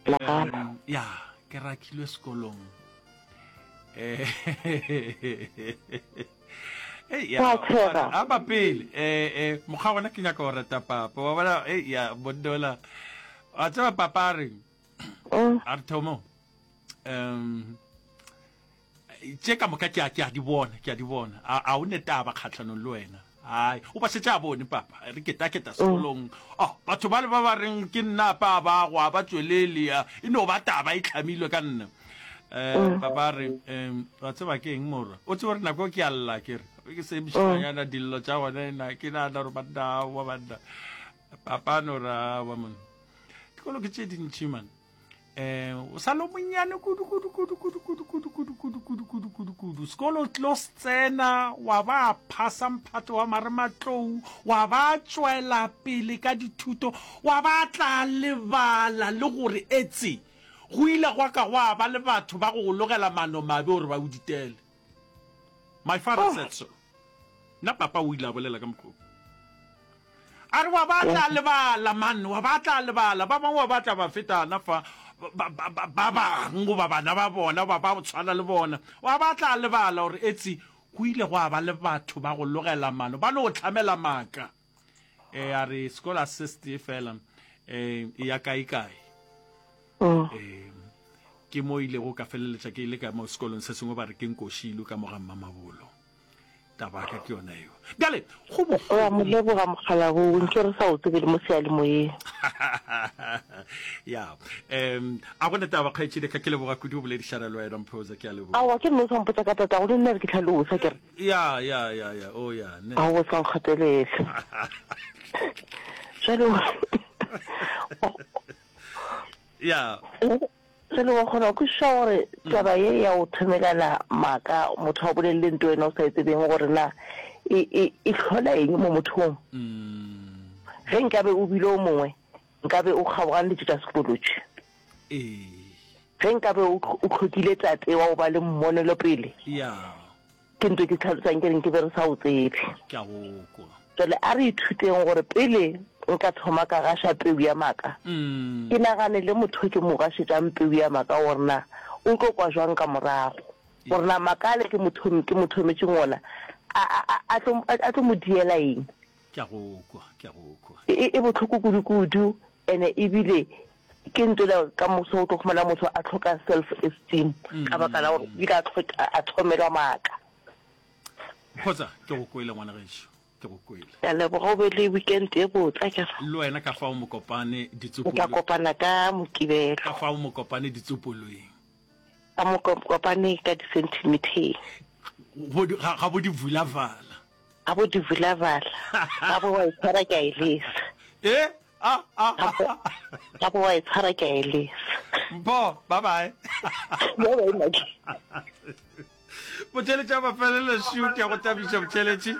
Nagana. Um, ya, ke rakilwe sekolong. Eh, Ei, ya, Wa tshega. a ba pele eh eh mokgwa gona ke nyaka go reta papa wa bona ei ya bondola wa tseba papa a reng Mm. a re thomo um tše ka moka ke a ke a di bona ke a di bona a a o ne taba kgatlhanong le wena ai o ba šetše a bone papa re ketaketa sekolong oh batho ba le ba ba reng ke nna pa ba go a ba tšwelele ya e no ba taba e tlhamilwe ka nna um papa a re um wa tseba ke eng morwa o tsebe gore nako ke a lla ke re ke se mošimanyana dillo tša gona na ke nagana gore banna wa banna papa no ra wa monna dikolo ke tše dintši man um o sa le monnyane kudu kudu kudu kudu kudu kudu kudu kudu kudu kudu kudu kudu sekolo o tlo se tsena wa ba phasa mphato wa marematlou wa ba tšwela pele ka dithuto wa ba tla lebala le gore etse go ile gwa ka gwa ba le batho ba go go logela maano mabe gore ba o ditele. My father said so. Nna papa o ile a bolela ka mokgwa wo. A re wa ba tla lebala man, wa ba tla lebala, ba bangwe wa ba tla ba fetana fa ba, ba, ba, ba bangwe goba bana ba bona goba ba go tshwana le bona, wa ba tla lebala gore etsi go ile gwa ba le batho ba go logela maano, ba no hlamela maaka. E a re sekolo a se se tee fela, e ya kae kae. E, ke mo ilego ka feleletša ke ile ka mo sekolong se sengwe ba re ke nkošilwe ka mo ga Mmamabolo. Taba ka ke yona eo. Bjale go bohloko. Re a mo leboga mokgalabo, nke re sa o tsebe le mo seyalemoyeng. Ya, um a go ne taba kgaetšedi ka ke leboga kudu go boledišana le wena Mphoza, ke a leboga. Aowa ke nno o sa mpotša ka tatago le nna re ke hlalosa ke re. Ya, ya, ya, ya, oh ya, ne. Aowa o sa nkgatelele. Jwale Ya. Jwale wa kgona go kwešiša gore taba ye ya go thomelana maaka, motho a bolelele nto wena o sa e tsebeng gore na e, e, e hlola eng mo mothong. Ge nkabe o bile o mongwe, nkabe o kgaogane le tše tša sekolo tše. Ee. Ge nkabe o, o hlokile tate wa go ba le mmonelopele. Ya. Ke nto ke tlhalosang ke reng ke be re sa o tsebe. Ke a go kwa. Jwale a re ithuteng gore pele nka thoma ka gaša peu ya maaka, ke nagane le motho ke mo gašetšang peu ya maaka gore na o tlo kwa jwang ka morago, gore na maaka ale ke mo ke mo thometšeng ona a, a, a, a tlo, a tlo mo diela eng. Ke a go kwa, ke a go kwa. E, e, e bohloko kudu-kudu, ene ebile ke nto le ka moso o tlo khumana motho a hloka self esteem ka baka la gore o ile a hloka, a thomelwa maaka. Kgotsa, ke go kwele ngwana gešo, ke go kwele. Ke a leboga, o be le weekend e botse akere. Le wena ka fao Mokopane Re tla kopana ka Mokibelo. Ka fao Mokopane ditsopolweng. Ka Mokopane ka disentimeteng. Ga, ga bo di vulavala. Ga bo di vulavala. Ga bo wa e tshwara ke a e lesa. E? A, a, a. Ga bo wa e tshwara ke a e lesa. Mpho, bye bye. Bye bye, Maki. Botšheletši a mafelelo šiu ke ya go tabiša botšheletši.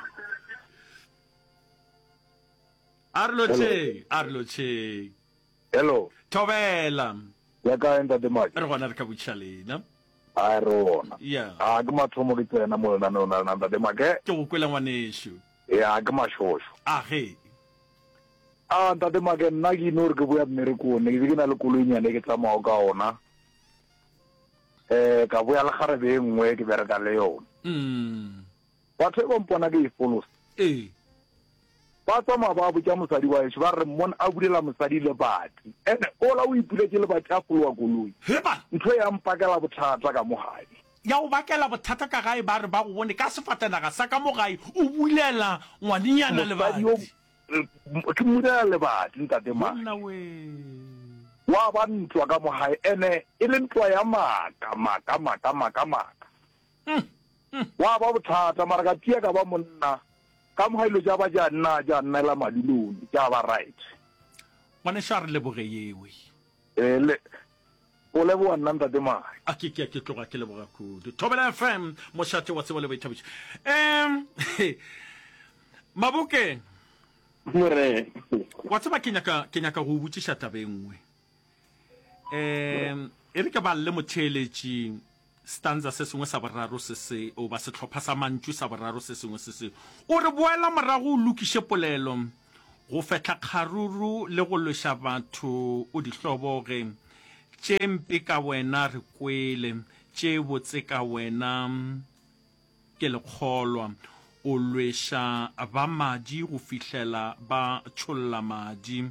A re lotšheng, a re lotšheng. Hello. Thobela. Ya kae ntate Maki? Re gona re ka botšiša lena. A re gona. Yeah. A ke mathomo ke tsena mo lenaneong la lena ntate Make. Ke go kwele ngwanešu. Ya ke mašošo. A ge. A ntate Make nna ke ino re ke boya mmerekong ne ke be ke na le koloinyana e ke tsamago ka ona. Eh ka boya le kgarebe e nngwe ke bereka le yona. Mm. Batho e ba mpona ke e folosa. Ee. Ba tsamaya ba botša mosadi wa gešo ba re mmona a bulela mosadi lebati. Ene ola o ipuletše lebati a fologa koloi. Heba! Ntho e ya mpakela bothata ka mo gae. Ya go bakela bothata ka gae ba re ba go bone ka sefatanaga sa ka mo gae o bulela ngwanenyana Mosadi yo lebati. ke mmulela lebati ntate Maki. Monna wee. Wa ba ntwa ka mo gae ene e le ntwa ya maaka, maaka, maaka, maaka, maaka. Gwa ba bothata, mara ka tia ka ba monna, ka moga dilo tša ba tša nna tša nnela madulong, tša ba right. Ngwanešu a re leboge yewe. Eh, le, o leboga nna Ntate Maki. A ke, ke, ke tloga ke leboga kudu. Thobela F M, mošate wa tsebo le boithabišo. Um, Maboke. Morena. Wa tseba ke nyaka, ke nyaka go o botšiša taba e nngwe. Um, e re ke balle motheeletši stanza se sengwe sa boraro se se, goba sehlopha sa mantšu sa boraro se sengwe se se. O re boela morago o lokiše polelo, go fehla kgaruru le go lweša batho o di hloboge. Tše mpe ka wena re kwele, tše botse ka wena ke lekgolwa. O lweša ba madi go fihlela ba tšholla madi.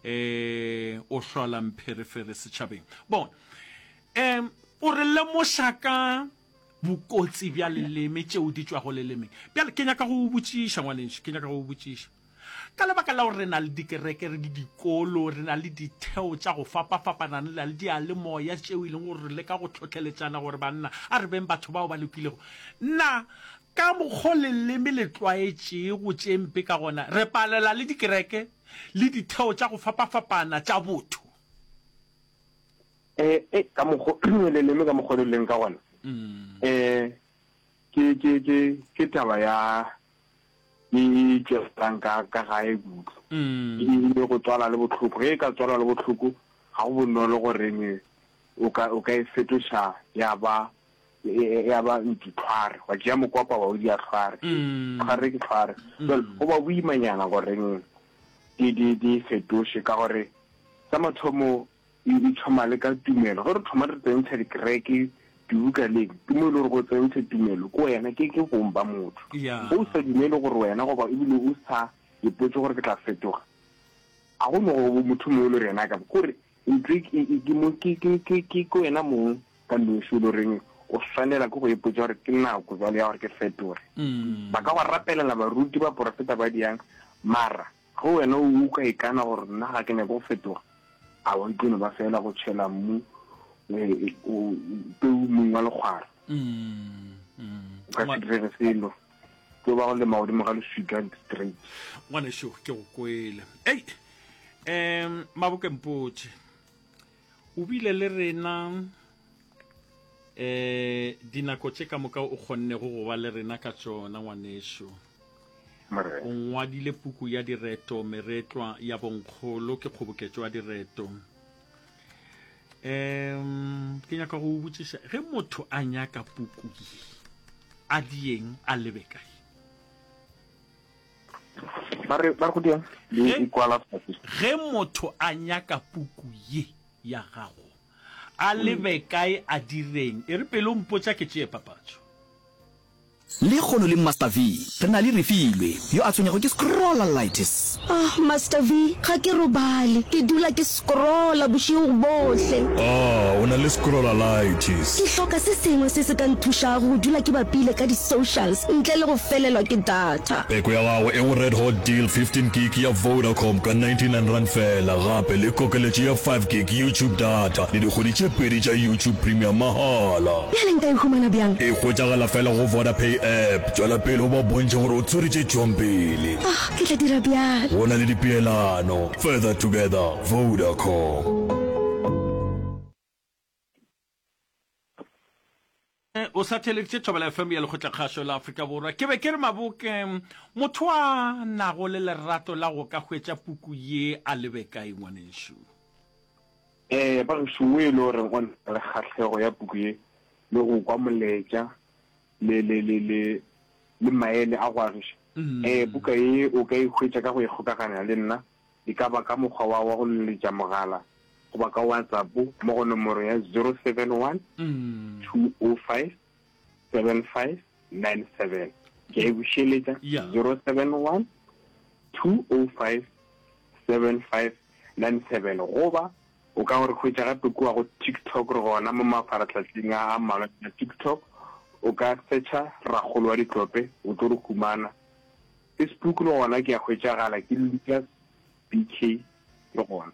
E, o hlola mpherefere setšhabeng. Bona, e, o re lemoša ka bokotsi bja leleme, tšeo di tšwago lelemeng. Bjale ke nyaka go o botšiša, ngwanešo, ke nyaka go o botšiša. Ka lebaka la gore re na le dikereke, re le dikolo, re na le ditheo tša go fapafapana, re na le diyalemoya tšeo e leng gore re leka go hlohleletšana gore banna a re beng batho bao ba lokilego. Na ka mokgo leleme le tlwaetšego tše mpe ka gona, re palela le dikereke le ditheo tša go fapafapana tša botho? Eh, eh, ka mokgo leleme ka mokgo le leng ka gona, eh, ke, ke, ke, ke taba ya e e tšwelang ka, ka gae kudu. E e go tswala le bohloko. Ge e ka tswalwa le bohloko, ga go bonolo goreng o ka, o ka e fetoša ya ba, ya ba ntšu tlhware. Wa tšea mokopa wa o dia tlhware. Tlhware ke tlhware. Jwale go ba boimanyana goreng di, di, di fetoše, ka gore sa mathomo e, e thoma le ka tumelo. Ge re thoma re tsentšha dikereke dibuka leng, ke mo e le gore go tsentšha tumelo ke wena, ke, ke bong ba motho. Ya. Ge o sa dumele gore wena goba ebile o sa ipotše gore ke tla fetoga, ga go no go motho mongwe e le gore yena a ka, kore ntho e, e, e, ke mo, ke, ke, ke, ke, ke wena mong ka noši o le goreng o swanela ke go ipotša gore ke nako bjale ya gore ke fetoge. Ba ka go rapelela baruti, baporofeta ba diang, mara Ge wena o ka ikana gore nna ga ke nyake go fetoga, aowa e tlo no ba feela go tšhela mmu peu mmung wa lekgwara. O ka se direge selo, tlo ba go lema godimo ga leswika straight. Ngwanešu, ke go kwele. Ei, um Maboke mpotše, o bile le rena um dinako tše ka moka o kgonnego go ba le rena ka tšona, ngwanešu. Morena. O ngwadile puku ya direto Meretlwa ya Bonkgolo, ke kgoboketšo ya direto. Um ke nyaka go o botšiša, ge motho a nyaka puku ye, a dieng a lebe kae? Ba re, ba re go dieng? Ge, E kwala fase. ge motho a nyaka puku ye ya gago, a lebe kae a direng? E re pele o mpotša ke tšee papatšo. Lekgono le Master V, re na le Refilwe, yo a tshwenyago ke scrollalitis. Ah, Master V, ga ke robale. Ke dula ke scrolla bošego bohle. Ah, o na le scrollalitis. Ke hloka se sengwe se se ka nthušago go dula ke bapile ka di-socials ntle le go felelwa ke data. Peko ya gago e go Red Hot Deal fifteen gig ya Vodacom ka ninety nine rand fela, gape le kokeletšo ya five gig YouTube data le dikgwedi tše pedi tša YouTube Premium mahala. Bjale nka e humana bjang? E hwetšagala fela go Vodapay app. Tšwela pele o ba bontšhe gore o tshwere tše tšwang pele. Ah, ke tla dira bjalo. Go na le dipeelano. Further together, Vodacom. O sa theeleditše Thobela F M ya Lekgotlakgašo la Afrika Borwa. Ke be ke re Maboke, motho a nago le lerato la go ka hwetša puku ye a lebe kae ngwanešu? Ee, ba gešo, wo e le goreng o na le kgahlego ya puku ye le go kwa molaetša le, le, le, le, le maele a go agiša, ee, buka ye o ka e hwetša ka go ikgokaganya le nna, e ka ba ka mokgwa wa, wa go leletša mogala goba ka WhatsApp mo go nomoro ya zero seven one, two oh five, seven five nine seven. Ke a e bušeletša, zero seven one, two oh five, seven five nine seven. Goba o ka go re hwetša gape kua go TikTok, re gona mo mafarahlahleng a a mmalwa a TikTok. O ka searcha Rakgolo wa Ditlope, o tlo re humana. Facebook le gona ke a hwetšagala, ke Lucas B K le gona.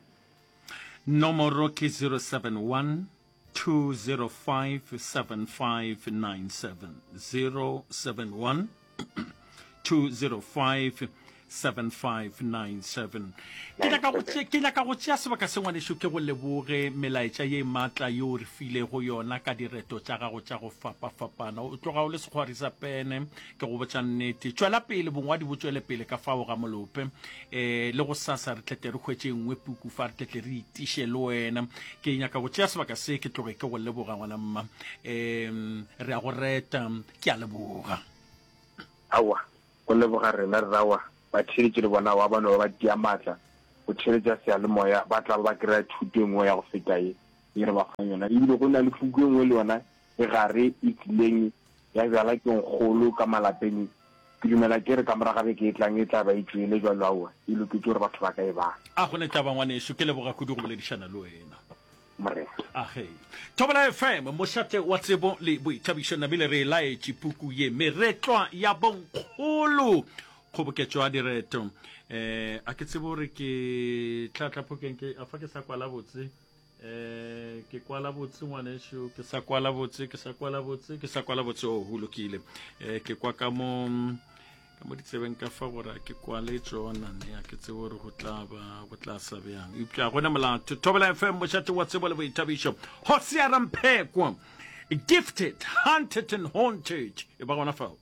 Nomoro ke zero seven one two zero five seven five nine seven zero seven one two zero five seven five nine seven ke nyaka go tše- ke nyaka go tšea sebaka se ngwanešu ke go leboge melaetša ye maatla yeo re filego yona ka direto tša gago tša go fapafapana o tloga o le sekgwari sa pene ke go botša nnete tšwela pele bongwadi bo tšwele pele ka fao ga molope um le go sasa re tlete re hwetše nngwe puku fa re tletle re itiše le wena ke nyaka go tšea sebaka se ke tloge ke go leboga ngwana mma um re a go reta ke a leboga Aowa, go leboga rena rrawa, batheeletši le bona aowa ba no ba ba tia maatla go theeletša seyalemoya, ba tla ba ba kry-a thuto e nngwe ya go feta ye ye re ba fang yona. Ebile go na le puku e nngwe le yona e gare e tlileng ya bjala ke nkgolo ka malapeng, ke dumela ke re ka morago ga beke e tlang e tla ba e tšwele bjalo aowa e loketše gore batho ba ka e bala. A go ne taba ngwanešu, ke leboga kudu go boledišana le wena. Morena. Age. Thobela F M, mošate wa tsebo le boithabišo, namile re e laetše puku ye, Meretlwa ya Bonkgolo, kgoboketšo ya direto. Eh, a ke tsebe gore ke tla tla phokeng ke, a fa ke sa kwala botse. Eh, ke kwala botse ngwanešu, ke sa kwala botse, ke sa kwala botse, ke sa kwala botse, oh, go lokile. Eh, ke kwa ka mo, ka mo ditsebeng ka fa gore a ke kwale tšona ne a ke tsebe gore go tla ba go tla sa bjang eupša gona molato Thobela F M mošate wa tsebo le boithabišo Hosea Ramphekwa gifted hunted and haunted e ba gona fao.